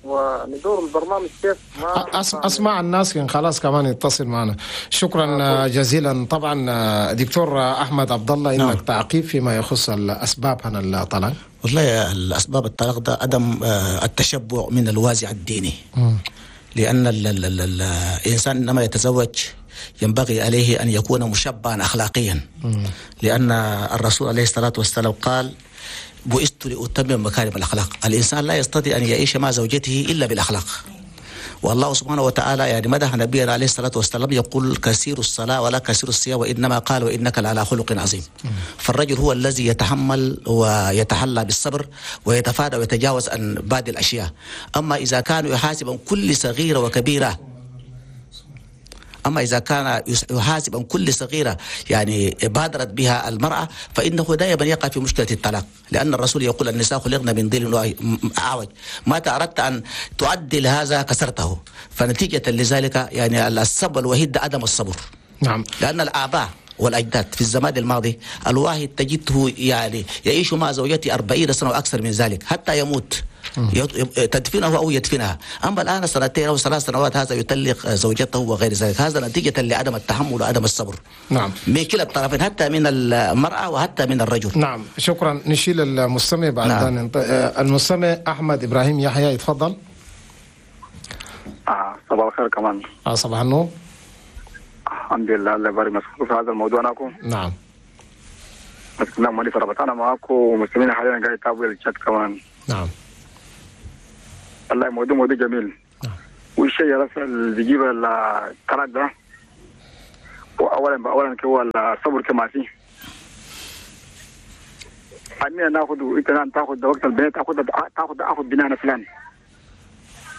وندور البرنامج كيف ما اسمع الناس كان خلاص كمان يتصل معنا. شكرا جزيلا. طبعا دكتور احمد عبد الله، انك نعم. تعقيب فيما يخص الاسباب هنا الطلاق. والله الاسباب الطلاق ده عدم التشبع من الوازع الديني. لان الانسان عندما يتزوج ينبغي عليه أن يكون مشبعا أخلاقيا. لأن الرسول عليه الصلاة والسلام قال بعثت لأتمم مكارم الأخلاق. الإنسان لا يستطيع أن يعيش مع زوجته إلا بالأخلاق. والله سبحانه وتعالى يعني مدح نبينا عليه الصلاة والسلام يقول كثير الصلاة ولا كثير الصيام، وإنما قال وإنك لعلى خلق عظيم. فالرجل هو الذي يتحمل ويتحلى بالصبر ويتفادى ويتجاوز عن بعض الأشياء. أما إذا كان يحاسب عن كل صغيرة وكبيرة، أما إذا كان يحاسب عن كل صغيرة يعني بادرت بها المرأة فإنه دائما يقع في مشكلة الطلاق، لأن الرسول يقول النساء خلقن من ظل أعوج، ما أردت أن تعدل هذا كسرته. فنتيجة لذلك يعني السبب الوحيد عدم الصبر. نعم. لأن الآباء والأجداد في الزمان الماضي الواحد تجده يعني يعيش مع زوجته 40 سنة وأكثر من ذلك حتى يموت، تدفنه أو يدفنها. أما الآن 2 أو 3 سنوات هذا يطلق زوجته وغير ذلك. هذا نتيجة لعدم التحمل وعدم الصبر. نعم. من كلا الطرفين، حتى من المرأة وحتى من الرجل. نعم، شكرا. نشيل المستمع بعد. نعم. المستمع أحمد إبراهيم يحيى، يتفضل. صباح الخير كمان. صباح النور. الحمد لله، الله يبارك مسكوك في هذا الموضوع ناكم. نعم. مسكنا مولي فربطانا معاكم ومستمعين حاليا قاعد يتابعوا الشات كمان. نعم. والله موضوع جميل. نعم. والشيء اللي بيجيب الطلاق ده، واول اولا اولا هو الصبر كما فيه أننا ناخذ انت تاخذ وقت البنات تاخذ اخذ بنانا فلان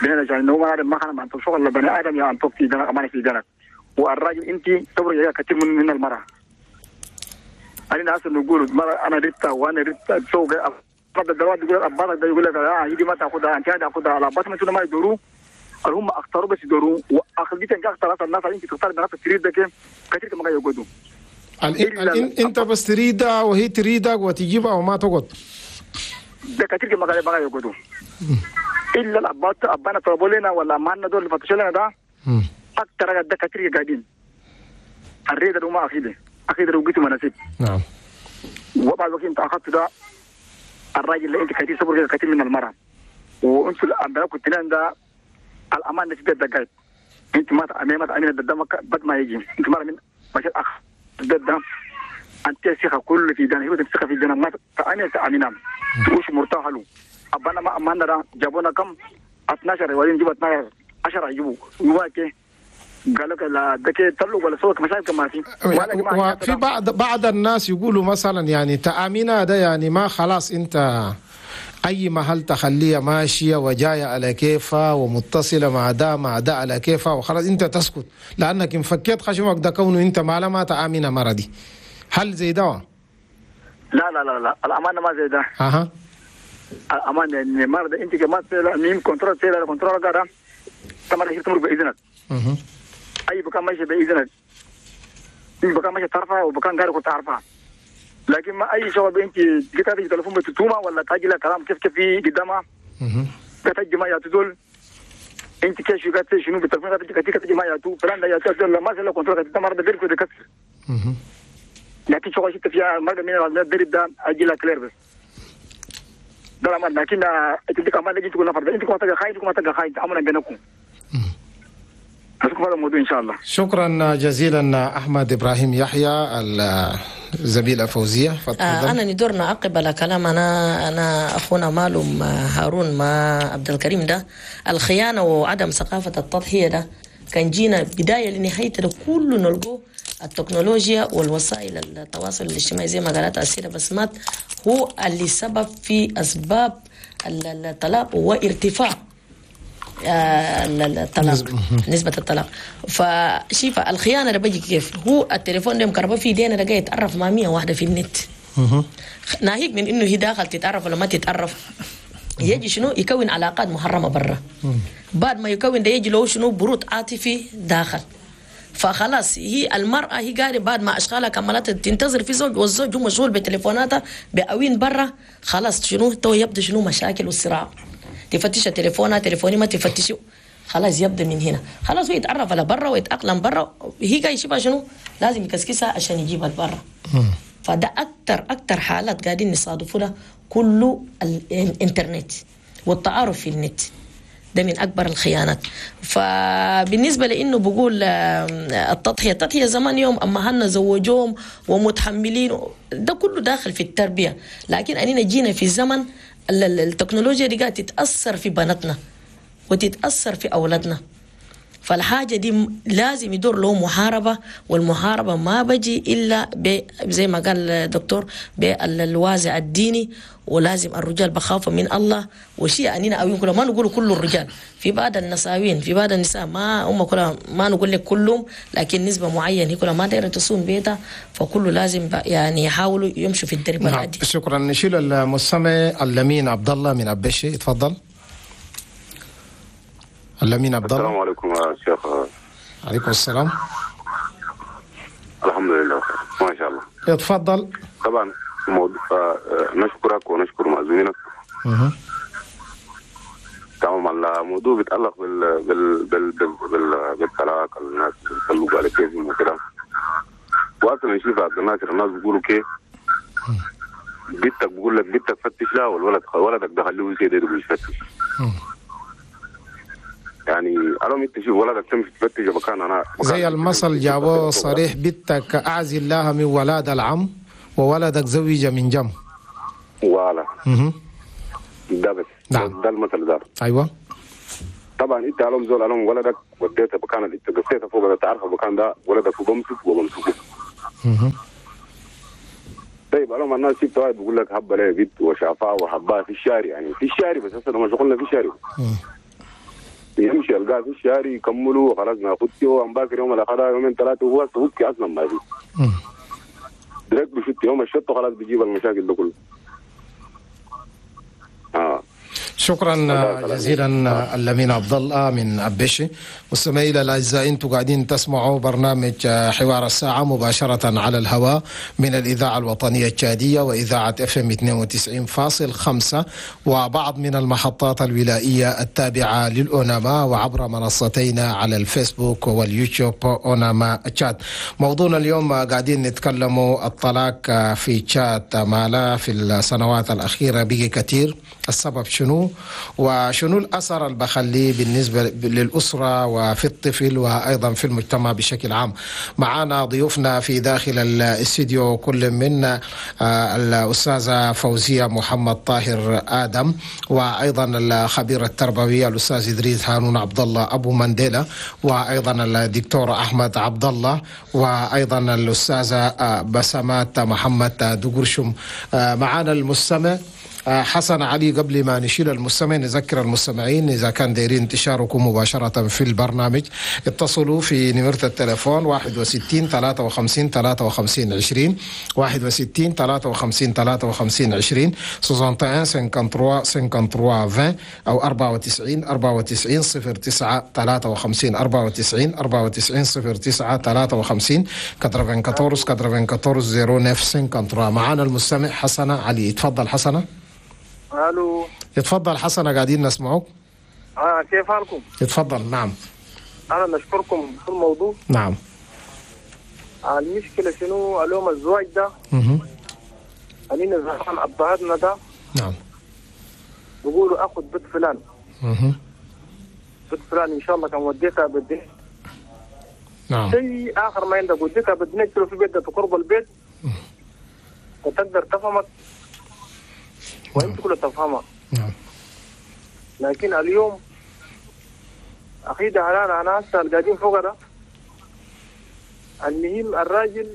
بنانا عشان هو ما خلنا ما شغل بني ادم يا ان في دنك امانه في دنك. والراجل انت صبر يا كثير من المراة. انا اصلا نقول المراة انا ريتا وانا ريتا سوق بعض الدواد يقول ابارك ده يقول لك يدي ما تاخذها انت تاخذها على بس ما ما يدوروا هم اختاروا بس يدوروا واخذت انت اختارت الناس انت تختار الناس تريد ده كثير ما يقعدوا. انت بس تريدها وهي تريدك وتجيبها وما تقعد ده كثير ما يقعدوا الا الابات ابانا طلبوا لنا ولا ما لنا دول اللي فتشوا لنا ده اكثر ده كثير قاعدين الريده وما اخيده اخيده وقيته مناسب. نعم. وبعد وقت انت اخذت ده الراجل اللي انت كثير صبر كثير من المراة وانتوا الامبراك كنت ده الامان نسبه دقائق انت ما تامين ده بد ما يجي انت مرة من ماشي اخ ده انت ثقة كل في دنا هو ثقة في دنا ما تامين تامينام وش مرتاح له ابانا ما اماننا ده جابونا كم 12 وبعدين جيبوا 12 10 يجيبوا يواكي قال لك لا دك تلو ولا سوق مشاكل ما في. وفي بعض الناس يقولوا مثلا يعني تامينها ده يعني ما خلاص انت اي محل تخليها ماشية وجاية على كيفها ومتصله مع ده مع ده على كيفها وخلاص انت تسكت لانك ان فكيت خشمك ده كونه انت ما ما تامينها مرضي. هل زي ده؟ لا لا لا لا الامانة ما زي ده. اها الامانة يعني مرض انت كمان ميم control سيلا control قاعدة تمر تمر باذنك. اي بكان ماشي باذنك اي بكان ماشي تعرفها وبكان غيرك تعرفها لكن ما اي شباب انت جيت تليفون بتتوما ولا تاجي لها كلام كيف كيف في قدامها تجي ما يا انت كيف شو قاعد شنو بالتليفون تجي تجي ما يا تو فلان يا تو لا ما زال control تمر بدير كده كسر. لكن شو شفت فيها مرة من الدرب ده اجي لها كلير بس ده ما لكن انت كمان تجي تقول نفر انت كمان تجي خاين كمان تجي خاين امر بينكم. الموضوع إن شاء الله. شكرا جزيلا أحمد إبراهيم يحيى الزميلة فوزية. أنا ندور نعقب على كلام أنا أخونا مالوم هارون ما عبد الكريم ده الخيانة وعدم ثقافة التضحية ده كان جينا بداية لنهاية ده كله نلقوه التكنولوجيا والوسائل التواصل الاجتماعي زي ما قالت السيدة بسمات هو اللي سبب في أسباب الطلاق وارتفاع الطلاق نسبة الطلاق. فشيفة الخيانة اللي بيجي كيف هو التليفون ده مكربة في ايدينا ده يتعرف مع 100 واحدة في النت ناهيك من انه هي داخل تتعرف ولا ما تتعرف يجي شنو يكون علاقات محرمة برا بعد ما يكون ده يجي له شنو برود عاطفي داخل فخلاص هي المرأة هي قاعدة بعد ما أشغالها كملت تنتظر في زوج والزوج هو مشغول بتليفوناتها بأوين برا خلاص شنو تو يبدأ شنو مشاكل والصراع تفتش تليفونها تليفوني ما تفتشي خلاص يبدا من هنا خلاص هو يتعرف على برا ويتاقلم برا هي جاي يشوفها شنو لازم يكسكسها عشان يجيبها لبرا. فده اكتر حالات قاعدين نصادفوها كله الانترنت والتعارف في النت ده من اكبر الخيانات. فبالنسبه لانه بقول التضحية زمان يوم اما هن زوجوهم ومتحملين ده كله داخل في التربية لكن اننا جينا في زمن التكنولوجيا دي قاعدة تتأثر في بناتنا وتتأثر في أولادنا فالحاجة دي لازم يدور له محاربة والمحاربة ما بجي إلا زي ما قال الدكتور بالوازع الديني ولازم الرجال بخافوا من الله وشيء أننا أوين كلهم ما نقول كل الرجال في بعض النساوين في بعض النساء ما هم كلها ما نقول لك كلهم لكن نسبة معينة هي كلها ما دايرة تصوم بيتها فكله لازم يعني يحاولوا يمشوا في الدرب العادي. شكرا. نشيل المستمع اللمين عبد الله من أبشي تفضل. اللمين عبد الله. السلام عليكم يا شيخ. عليكم السلام. الحمد لله ما شاء الله. اتفضل. طبعا موضوع نشكرك ونشكر مأذونينك. تمام. الموضوع بيتعلق بال بال بال بال بالطلاق الناس بيطلقوا على كيفهم وكده. واصلا نشوف عبد الناصر الناس بيقولوا كيف بنتك بيقول لك بنتك فتش لها والولد ولدك ده خليه يصير يفتش. يعني أنا انت شوف ولدك تمشي تفتش مكان انا زي المثل جابوه صريح بنتك اعزل لها من ولاد العم وولدك زوج من جم. ولا ده بس. نعم. ده المثل ده. ايوه طبعا انت علوم زول علوم ولدك وديتها مكان اللي تقصيتها فوق تعرف المكان ده ولدك وبمسك وبمسكه. طيب انا الناس شفت واحد بيقول لك هبه لها بنت وشافها وحبها في الشارع، يعني في الشارع بس هسه لما شغلنا في الشارع يمشي يلقاه في الشارع يكملوا وخلاص ناخدته وامباكر يوم الاخر يومين ثلاثة وهو هوكي اصلا ما في درك بشت يوم الشط وخلاص بيجيب المشاكل ده كله. شكرا جزيلا اللمين عبد الله من أبشي. مستمعينا الاعزاء، انتم قاعدين تسمعوا برنامج حوار الساعة مباشرة على الهواء من الاذاعة الوطنية التشاديه واذاعة FM 92.5 وبعض من المحطات الولائيه التابعة للاوناما وعبر منصتينا على الفيسبوك واليوتيوب اوناما تشاد. موضوعنا اليوم قاعدين نتكلموا الطلاق في تشاد مالا في السنوات الاخيرة بقي كثير، السبب شنو وشنو الأثر اللي بخليه بالنسبة للأسرة وفي الطفل وأيضا في المجتمع بشكل عام. معنا ضيوفنا في داخل الاستديو كل من الأستاذة فوزية محمد طاهر آدم، وأيضا الخبير التربوي الأستاذ إدريس هارون عبد الله أبو مانديلا، وأيضا الدكتور أحمد عبد الله، وأيضا الأستاذة بسمات محمد دقرشم. معنا المستمع حسن علي. قبل ما نشيل المستمع نذكر المستمعين إذا كان دايرين تشاركوا مباشرة في البرنامج اتصلوا في نمرة التلفون 61 53 53 20 61 53 53 20 61 53 53 20 أو 94 94 09 53 94 94 09 53 94 94 09 53. معانا المستمع حسن علي. تفضل حسنة. الو. اتفضل حسنة، قاعدين نسمعك. كيف حالكم؟ اتفضل. نعم. انا نشكركم في الموضوع. نعم. المشكلة شنو اليوم الزواج ده؟ خلينا زمان ابهاتنا ده. نعم. بيقولوا اخذ بنت فلان. بنت فلان ان شاء الله كان وديتها بالدنيا. نعم. شيء اخر ما عندك وديتها بالدنيا في بيت قرب البيت. وتقدر تفهمك. وانت كله تفهمها. نعم. لكن اليوم اخي ده انا هسه قاعدين فوق ده. المهم الراجل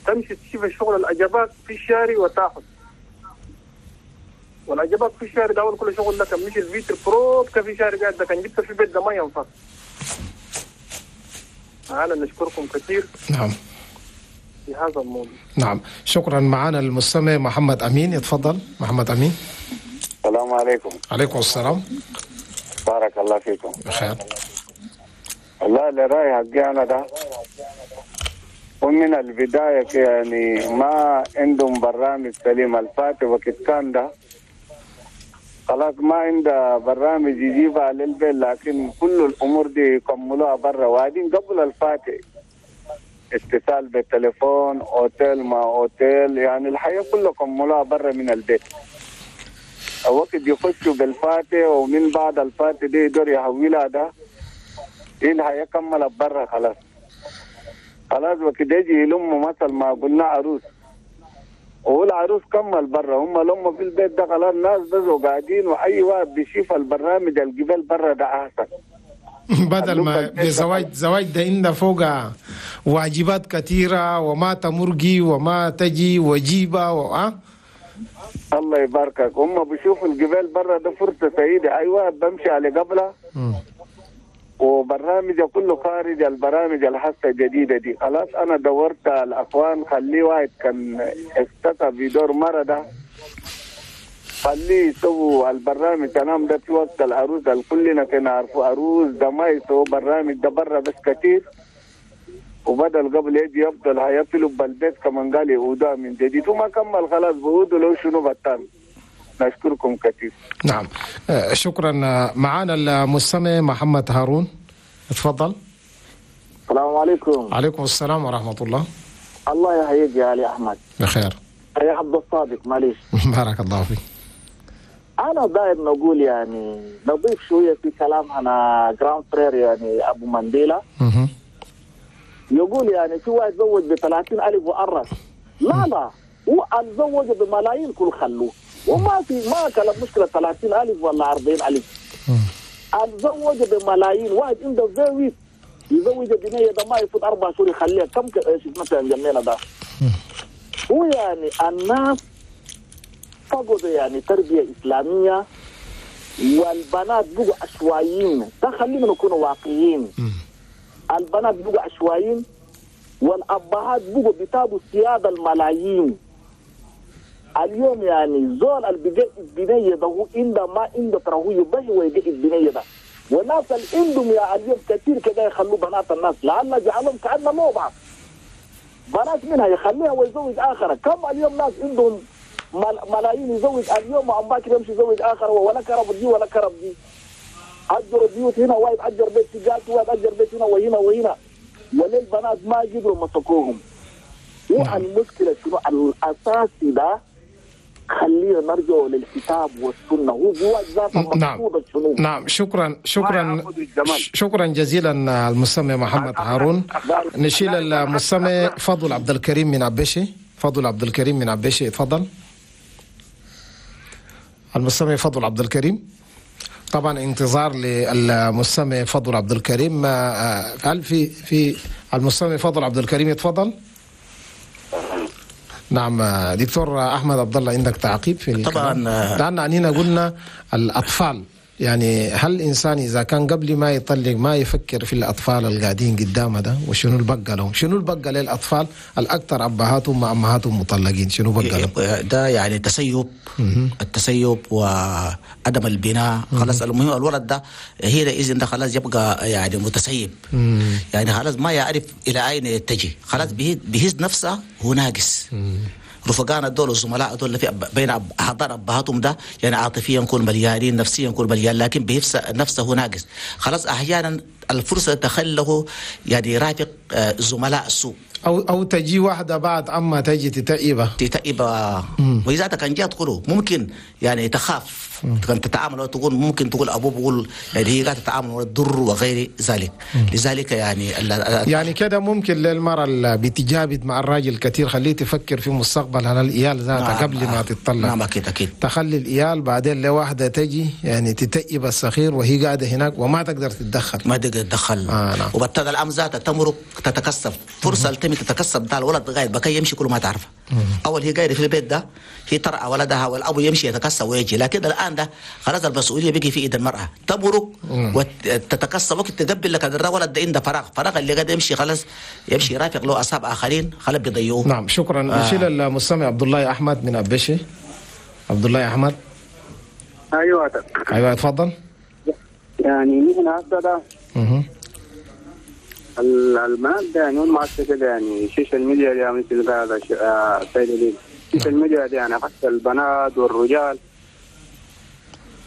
تمشي تشوف الشغل الاجابات في الشارع وتاخذ. والاجابات في الشارع ده اول كل شغل ده كان مش الفيتر بروب كان في شارع قاعد ده كان جبته في البيت ده ما ينفع. انا نشكركم كثير. نعم. في هذا الموضوع. نعم، شكرا. معنا المستمع محمد أمين. يتفضل محمد أمين. السلام عليكم. عليكم السلام. بارك الله فيكم. بخير. والله اللي راي حقي أنا ده ومن البداية يعني ما عندهم برنامج سليم. الفاتح وقت كان ده خلاص ما عنده برنامج يجيبها للبيت، لكن كل الأمور دي يكملوها برا. وبعدين قبل الفاتح اتصال بالتليفون، اوتيل ما اوتيل، يعني الحياة كلها كملوها برا من البيت. الوقت يخشوا بالفاتح ومن بعد الفاتح دي يقدر يحولها ده ايه الحياة كملت برا خلاص. خلاص وقت يجي يلموا مثل ما قلنا عروس، والعروس كمل برا، هم لموا في البيت ده خلاص الناس بس قاعدين، واي واحد بيشوف البرنامج الجبال برا ده احسن. بدل ما بزواج زواج ده إن فوق واجبات كثيرة وما تمرقي وما تجي وجيبة الله يباركك. هم بيشوفوا الجبال برا ده فرصة سعيدة، أي واحد بمشي على قبلها وبرنامجه كله خارج البرامج الحاسة الجديدة دي. خلاص أنا دورت الأخوان، خليه واحد كان اختفى بدور مرة ده خليه يسووا البرنامج تمام ده في وقت العروس كلنا كنا عارفوا عروس ده ما يسووا برنامج ده برا بس كتير، وبدل قبل يجي يفضل هيفلوا بالبيت كمان قال يعودها من جديد وما كمل خلاص بعودوا لو شنو بطل. نشكركم كثير. نعم شكرا. معنا المستمع محمد هارون، تفضل. السلام عليكم. عليكم السلام ورحمة الله. الله يحييك يا علي أحمد. بخير. يا عبد الصادق معليش. بارك الله فيك. أنا داير نقول يعني نضيف شوية في كلام أنا grand frère يعني أبو مانديلا. يقول يعني في واحد زوج ب 30,000 وأرس. لا لا، هو تزوج بملايين كل خلوه، وما في ما كلام مشكلة 30,000 ولا 40,000. اتزوج بملايين، واحد عنده زوج يزوج بنيه ده ما يفوت 4 شهور يخليها كم شفنا في جنينا ده. هو يعني الناس فقدوا يعني تربيه اسلامية، والبنات بقوا عشوائيين. ده خلينا نكون واقعيين. البنات بقوا عشوائيين، والابهات بقوا بيتابوا سيادة الملايين. اليوم يعني زول اللي بيجي البنية ده هو عنده ما عنده ترى هو يبهي ويجي البنية ده. والناس اللي عندهم يا اليوم كثير كده يخلوا بنات الناس، لعل جعلهم كأنه لوبعة. بنات منها يخليها ويزوج آخر. كم اليوم ناس عندهم ملايين يزوج اليوم وعم باكر يمشي يزوج آخر، ولا كرب دي ولا كرب دي. أجر بيوت هنا، وايد أجر بيت في جات، وايد أجر بيت هنا وهنا وهنا. وللبنات ما قدروا مسكوهم. والمشكلة شنو الأساسي ده؟ خلينا نرجع للكتاب والسنة، هو جوا ذاته. نعم نعم، شكرا شكرا شكرا جزيلا المستمع محمد هارون. نشيل المستمع فضل عبد الكريم من عبشي. فضل عبد الكريم من عبشي، تفضل. المستمع فضل عبد الكريم، طبعا انتظار للمستمع فضل عبد الكريم. هل في المستمع فضل عبد الكريم؟ يتفضل. نعم دكتور احمد عبد الله، عندك تعقيب في طبعا؟ لان عنينا قلنا الاطفال، يعني هل الانسان اذا كان قبل ما يطلق ما يفكر في الاطفال القاعدين قدامه ده، وشنو البقى لهم؟ شنو البقى للاطفال الاكثر ابهاتهم مع امهاتهم مطلقين؟ شنو بقى لهم؟ ده يعني تسيب، التسيب وعدم البناء. خلاص المهم الولد ده هنا اذا ده خلاص يبقى يعني متسيب، يعني خلاص ما يعرف الى اين يتجه، خلاص بيهز نفسه هو ناقص. رفقانا دول والزملاء دول اللي في بين احضان ابهاتهم ده يعني عاطفيا نكون مليانين، نفسيا نكون مليان، لكن بيهز نفسه ناقص. خلاص احيانا الفرصة تخله يعني يرافق زملاء السوء، او تجي واحدة بعد اما تجي تتئبه واذا كان جات تقوله ممكن يعني تخاف كان تتعامل وتقول ممكن تقول ابوه بيقول يعني هي قاعدة تتعامل وتضر وغير ذلك. لذلك يعني يعني كده ممكن للمرأة اللي بتجابد مع الراجل كثير خليه تفكر في مستقبل على الإيال ذاتها. نعم قبل ما تتطلق. نعم اكيد اكيد تخلي الإيال بعدين لواحدة تجي يعني تتئب الصخير وهي قاعدة هناك وما تقدر تتدخل، ما تقدر تتدخل. نعم. وبالتالي الأم ذاتها تمرق تتكسب فرصة التمي تتكسب ده الولد غايب بكي يمشي كل ما تعرفه. اول هي قاعدة في البيت ده هي ترعى ولدها والاب يمشي يتكسب ويجي، لكن الان ده خلاص المسؤولية بقي في ايد المراة، تمرق وتتكسب وقت تقبل لك الولد ده عنده فراغ اللي قاعد يمشي خلاص يمشي يرافق له اصحاب اخرين خلاص بيضيعوه. نعم شكرا. نشيل المستمع عبد الله احمد من ابشي. عبد الله احمد. ايوه ايوه اتفضل. يعني نحن هسه ده البنات ده يعني هم هسه كده يعني ال social media دي مثل هذا سيد ال social media دي يعني حتى البنات والرجال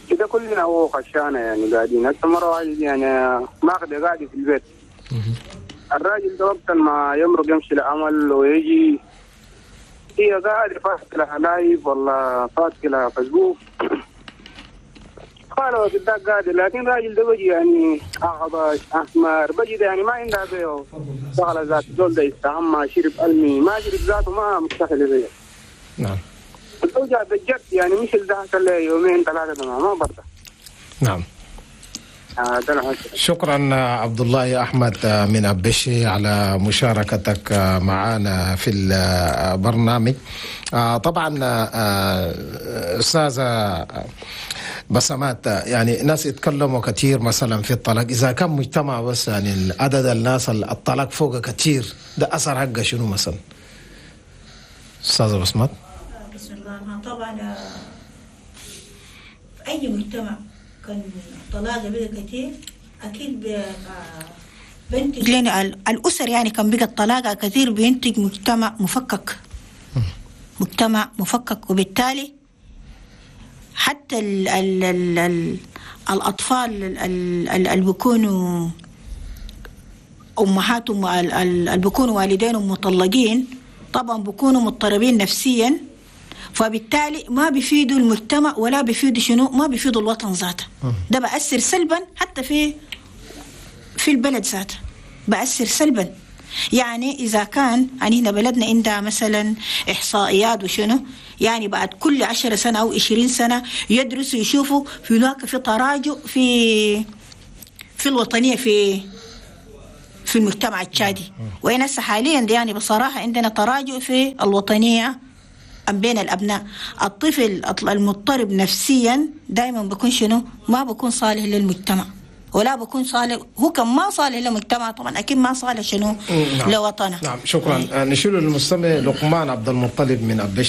كده كلنا هو خشانة يعني قاعدين هسه مرة واحدة يعني ماخذة قاعدة في البيت. الراجل ده وقت ما يمرق يمشي لعمل ويجي هي قاعدة فاتحة live ولا فاتحة فيسبوك قالوا قداك قاعدة، لكن الراجل ده بيجي يعني أعطش أحمر بيجي ده يعني ما عندها بيه شغلة ذات زول ده يستعمى شرب ألمي ما شرب ذاته ما مستحيل بيه. نعم الأوجع بالجد يعني مش اللي حصل يومين ثلاثة ما برضه. نعم شكرا عبد الله احمد من ابشي على مشاركتك معنا في البرنامج. طبعا استاذه بسمات، يعني ناس يتكلموا كثير مثلا في الطلاق، اذا كان مجتمع بس يعني عدد الناس الطلاق فوق كثير، ده اثر حقه شنو مثلا؟ استاذه بسمات. بسم الله. طبعا في اي مجتمع كان الطلاق بقى كتير اكيد بينتج لنا الاسر، يعني كان بقى الطلاق كثير بينتج مجتمع مفكك، مجتمع مفكك، وبالتالي حتى ال ال ال ال الاطفال اللي بيكونوا امهاتهم اللي بيكونوا والدينهم مطلقين طبعا بيكونوا مضطربين نفسيا، فبالتالي ما بيفيدوا المجتمع ولا بيفيدوا شنو، ما بيفيدوا الوطن ذاته. ده بأثر سلبا حتى في البلد ذاته، بأثر سلبا. يعني إذا كان يعني هنا بلدنا عندها مثلا إحصائيات وشنو، يعني بعد كل 10 سنة أو 20 سنة يدرسوا يشوفوا في هناك في تراجع في الوطنية في المجتمع التشادي. وين هسه حاليا يعني بصراحة عندنا تراجع في الوطنية بين الأبناء. الطفل المضطرب نفسيا دائما بيكون شنو؟ ما بيكون صالح للمجتمع، ولا بكون صالح، هو كان ما صالح للمجتمع طبعا اكيد ما صالح شنو؟ نعم. لوطنه. نعم، شكرا. نشيل المستمع لقمان عبد المطلب من أبش.